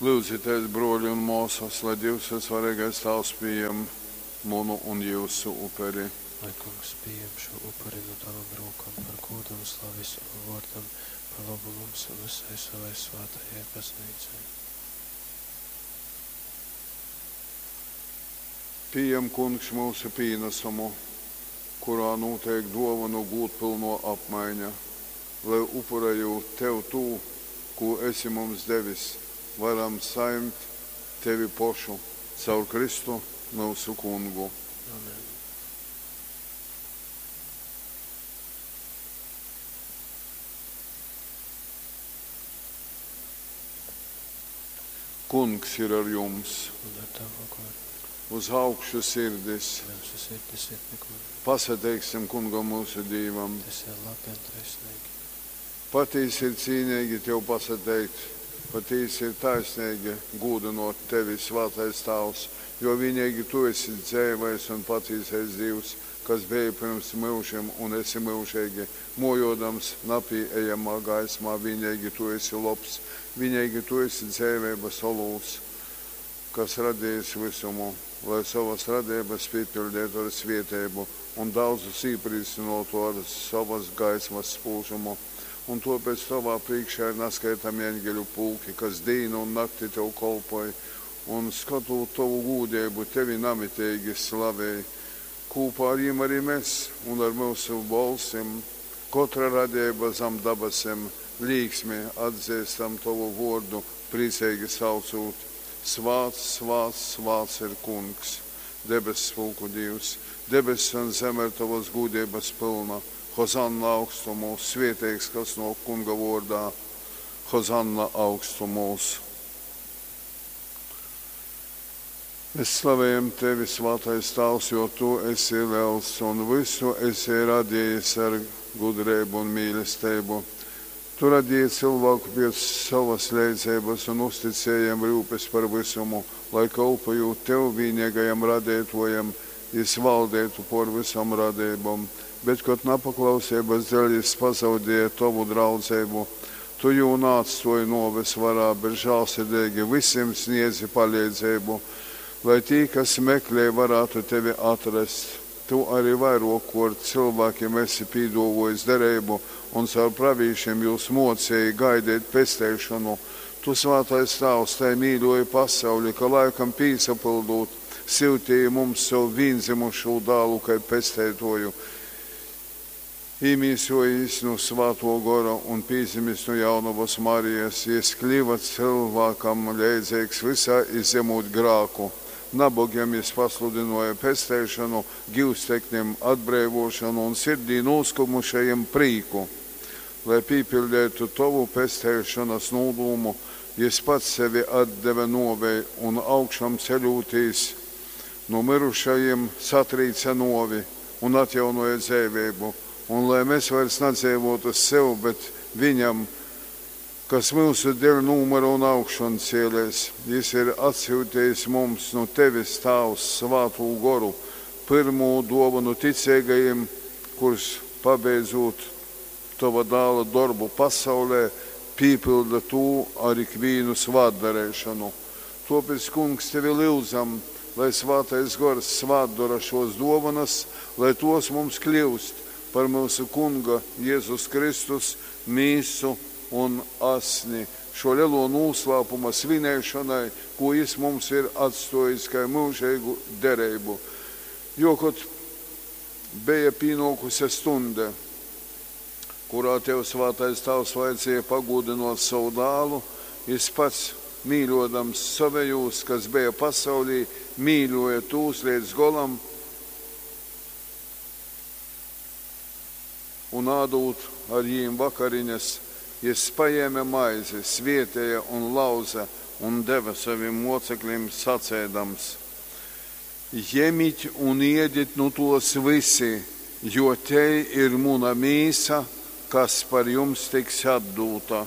Lyudzitēs, brōli un mōsas, lai Dīvs Vysvareigais Tāvs pījem munu un jyusu uperi. Lai Kungs pījem šū upuri nu tovom rūkom par gūdu un slavi sovam vōrdam, par lobu mums un vysai sovai svātajai Bazneicai. Pījem, Kungs, myusu pīnasumu, kurā nūteik dōvonu gūdpylnō apmaiņa, lai, upurejūt tev tū, kū esi mums devis, varam sajimt tevi pošu, caur Kristu, myusu Kungu. Amen. Kungs ir ar jums. Un ar tavu goru. Uz augšu sirdis. Myusu sirdis ir pi Kunga. Pasateiksim Kungam myusu Dīvam. Tas ir labi un taisneigi. Patīsi ir cīneigi tev pasateikt, patīsi ir taisneigi gūdynōt tevi, svātais Tāvs, jo vīneigi tu esi dzeivais un patīsais Dīvs, kas beji pyrms myužim un esi myužeigi. Mōjōdams napīejamā gaismā, vīneigi tu esi lobs, vīneigi tu esi dzeiveibas olūts, kas radejis vysumu, lai sovas radeibas pīpiļdeitu ar svieteibu un daudzus īprīcynōtu ar sovas gaismas spūžumu. Un tōpēc tovā prīškā ir naskaitami eņgeļu pulki, kas dīnu un nakti tev kolpoj un, skotūt tovu gūdeibu, tevi namiteigi slavej. Kūpā ar jim ari mes un ar myusu bolsim, kotra radeiba zam dabasim, līksmi atzeistam tovu vōrdu, prīceigi saucūt, Svāts, svāts, svāts ir Kungs, debesspulku Dīvs! Debess un zeme ir tovas gūdeibas pylna. Hozanna augstumūs! Svieteigs, kas nōk Kunga vōrdā! Hozanna augstumūs! Mēs slavējam tevi, svātais Tāvs, jo tu esi lels un vysu esi radījis ar gudreibu un mīlesteibu. Tu radīji cilvēku pēc savas leidzeibas un uzticēji jam ryupes par vysumu, lai kolpojūt tev, vīneigajam radeitōjam, jys valdeitu pōr vysom radeibom. Bet, kod napaklauseibas dēļ jys pazaudēja tovu draudzeibu, tu jū naatstōji nōves varā, bet žālsirdeigi vysim sniedzi paleidzeibu, lai tī, kas meklej, varātu tevi atrast. Tu ari vairōkkōrt cylvākim esi pīdōvōjis dereibu un caur pravīšim jūs mōceji gaideit pesteišonu. Tu, svātais Tāvs, tai mīļōji pasauli, ka, laikam pīsapyldūt, syuteji mums sovu vīndzymušū Dālu kai Pesteitōju. Īmīsōjīs nu Svātō Gora un pīdzimis nu Jaunovas Marijas, jys kliva cylvākam leidzeigs vysā, izjamūt grāku. Nabogim jys pasludynōja pesteišonu, gyusteknim, atbreivōšonu un sirdī nūskumušajim, prīku. Lai pīpiļdeitu tovu pesteišonas nūdūmu, jys pats sevi atdeve nōvei un, augšamceļūtīs nu myrušajim, satrīce nōvi un atjaunōja dzeiveibu. Un lai mes vairs nadzeivōtu sev, bet viņam, kas myusu deļ nūmyra un augšancielēs, jys ir atsyutejis mums nu tevis, Tāvs, Svātū Goru, pyrmū dōvonu ticeigajim, kurs, pabeidzūt tova Dāla dorbu pasaulē, pīpylda tū ar ikvīnu svātdareišonu. Tōpēc, Kungs, tevi lyudzam, lai Svātais Gors svātdora šōs dōvonas, lai tōs mums kļyust par myusu Kunga Jezus Kristus mīsu un asni šō lelō nūslāpuma svinēšonai, kū jys mums ir atstōjis kai myužeigu dereibu. Jo, kod beja pīnōkuse stuņde, kurā tev, svātais Tāvs, vajadzēja pagūdynōt sovu Dālu, jys pats, mīļōdams sovejūs, kas beja pasaulī, mīļōja tūs leidz golam. Un ādūt ar jīm vakariņas, jys pajēme maizi, svēteja un lauze un deve sovim mōceklim, saceidams, Jemit un ēdit nu tōs vysi, jo tei ir muna mīsa, kas par jums tiks atdūta.